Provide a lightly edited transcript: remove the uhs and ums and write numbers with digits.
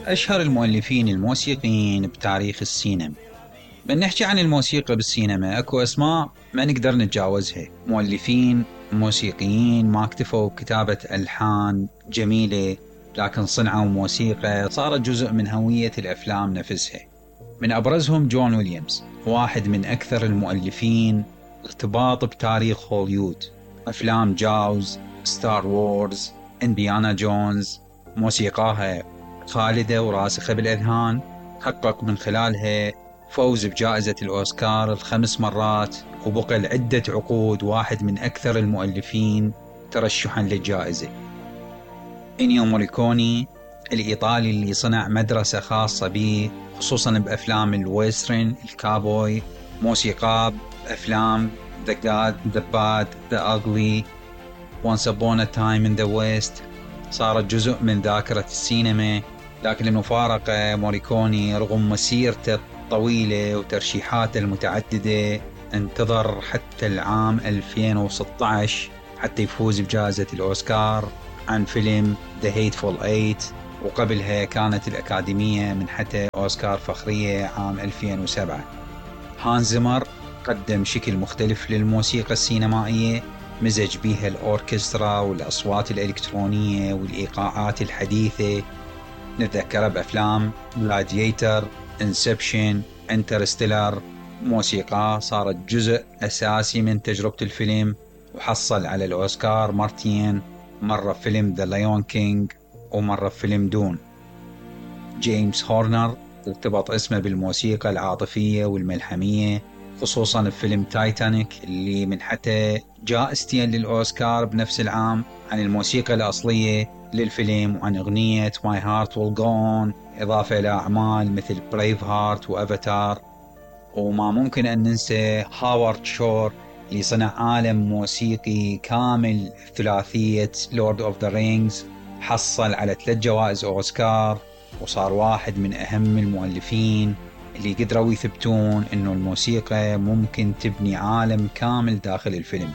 أشهر المؤلفين الموسيقيين بتاريخ السينما. من نحكي عن الموسيقى بالسينما أكو أسماء ما نقدر نتجاوزها. مؤلفين موسيقيين ما اكتفوا بكتابة ألحان جميلة، لكن صنعوا موسيقى صارت جزء من هوية الأفلام نفسها. من أبرزهم جون ويليامز، واحد من أكثر المؤلفين ارتباط بتاريخ هوليوود. أفلام جاوز، ستار وورز، إنديانا جونز موسيقاها خالدة وراسخة بالأذهان. حقق من خلالها فوز بجائزة الأوسكار 5 مرات، وبقى لعدة عقود واحد من أكثر المؤلفين ترشحا للجائزة. إنيو موريكوني الإيطالي اللي صنع مدرسة خاصة به خصوصا بأفلام الويسترن الكابوي. موسيقى بأفلام The Good, The Bad, The Ugly, Once Upon a Time in the West صارت جزء من ذاكرة السينما. لكن المفارقة موريكوني رغم مسيرته الطويلة وترشيحاته المتعددة انتظر حتى العام 2016 حتى يفوز بجائزة الأوسكار عن فيلم The Hateful Eight، وقبلها كانت الأكاديمية منحته أوسكار فخرية عام 2007. هانز زيمر قدم شكل مختلف للموسيقى السينمائية، مزج بيها الأوركسترا والأصوات الإلكترونية والإيقاعات الحديثة. نتذكر بأفلام Gladiator، Inception، Interstellar. موسيقى صارت جزء أساسي من تجربة الفيلم، وحصل على الأوسكار مرتين، مرة بفيلم The Lion King ومرة بفيلم دون. جيمس هورنر ارتبط اسمه بالموسيقى العاطفية والملحمية، خصوصا بفيلم تايتانيك اللي منحته جائزتين للأوسكار بنفس العام عن الموسيقى الأصلية للفيلم وعن أغنية My Heart Will Go On، إضافة إلى أعمال مثل بريف هارت وأفاتار. وما ممكن أن ننسى هاوارد شور اللي صنع عالم موسيقي كامل. ثلاثية Lord of the Rings حصل على 3 جوائز أوسكار، وصار واحد من أهم المؤلفين اللي قدروا يثبتون إنه الموسيقى ممكن تبني عالم كامل داخل الفيلم.